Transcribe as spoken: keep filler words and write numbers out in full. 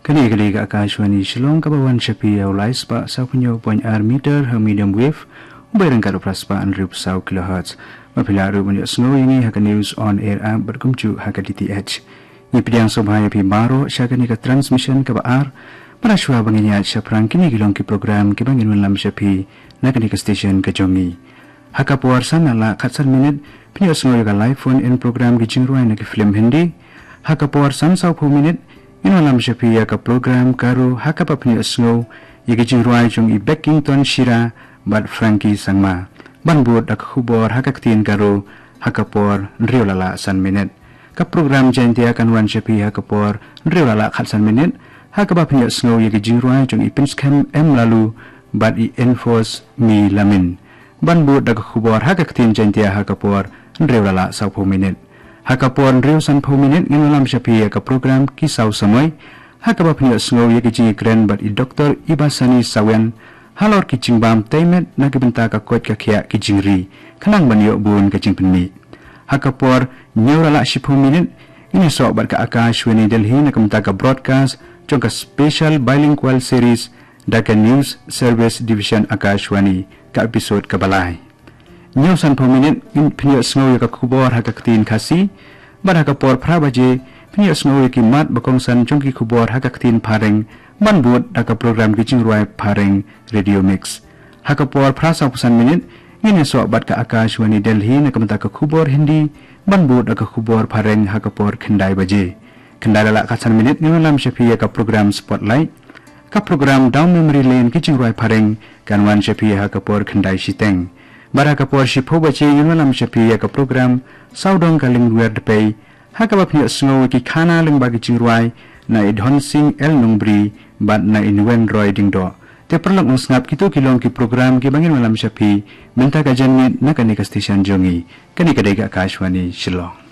Kane ka dei ka Akashvani Shillong, kaba wan sha phi ïa u lai spah saw phew hynñiew point ar meter ha medium wave, u bai ryngkat u phra spah hynriew phew saw kilohertz. Ba phi lah ruh ban ïohsngew ïa ngi ha ka News on Air app bad kumjuh ha ka D T H. Ngi pdiang sngewbha ïa phi baroh sha kane ka transmission kaba ar. Bad shuwa ba ngin ïaid shaphrang kine ki long ki program kiba ngin wanlam sha phi na kane ka station ka jong ngi. Ha ka por san na la khatsan minit, phin ïohsngew ïa ka live phone in program ki jingrwai na ki film Hindi. Ha ka por san saw phew minit, ngin wanlam sha phi ïa ka program Garo, ha kaba phin ïohsngew ïa ki jingrwai jong i Beckington Shira bad Frankie Sangma. Ban bud da ka khubor ha ka ktien Garo, ha ka por hynriew la la san minit. Ka program Jaintia kan wan sha phi ha ka por hynriew la la khatsan minit, ha kaba phin ïohsngew ïa ki jingrwai jong i Pynskhem M Laloo bad i Enforce Mi Lamin. Ban bud da ka khubor ha ka ktien Jaintia ha ka por hynriew la la saw phew minit. Ha ka por hynriew san phew minit ngin wanlam sha phi ïa ka program Ki Saw Samoi, ha kaba phin ïohsngew ïa ki jingïakren bad i Doktor Ibasani Sawian halor ki jingbam tei met na ki bynta ka koit ka khiah ki jingri, khnang ban ïoh bun ka jingpynmih. Ha ka por hynñiew la la shiphew minit, ngin ïasoh bad ka Akashvani Delhi na ka bynta ka broadcast jong ka Special Bilingual Series da ka News Service Division Akashvani, ka episode kaba lai. Hynñiew san phew minit, ngin phin ïohsngew ïa ka khubor ha ka ktien Khasi, bad ha ka por phra baje, phin ïohsngew ïa ki mat ba kongsan jong ki khubor ha ka ktien Phareng, ban bud da ka program ki jingrwai Phareng Radio Mix. Ha ka por phra saw phew san minit, ngin ïasoh bad ka Akashvani Delhi na ka bynta ka khubor Hindi, ban bud da ka khubor Phareng ha ka por khyndai baje. Khyndai la la khatsan minit ngin wanlam sha phi ïa ka program Spotlight. Ka program Down Memory Lane ki jingrwai Phareng kan wan sha phi ha ka por khyndai shiteng. Bad ha ka por shiphew baje ngin wanlam sha phi ïa ka program Sawdong Ka Lyngwiar Dpei, ha kaba phin ïohsngew ïa ki khana lyngba ki jingrwai na i Dhonsing L Nongbri bad na i Nwen Roy Diengdoh. Te paralok nongsngap, kito ki long ki program kiba ngin wanlam sha phi mynta ka janmiet na kane ka station jong ngi. Kane ka dei ka Akashvani Shillong.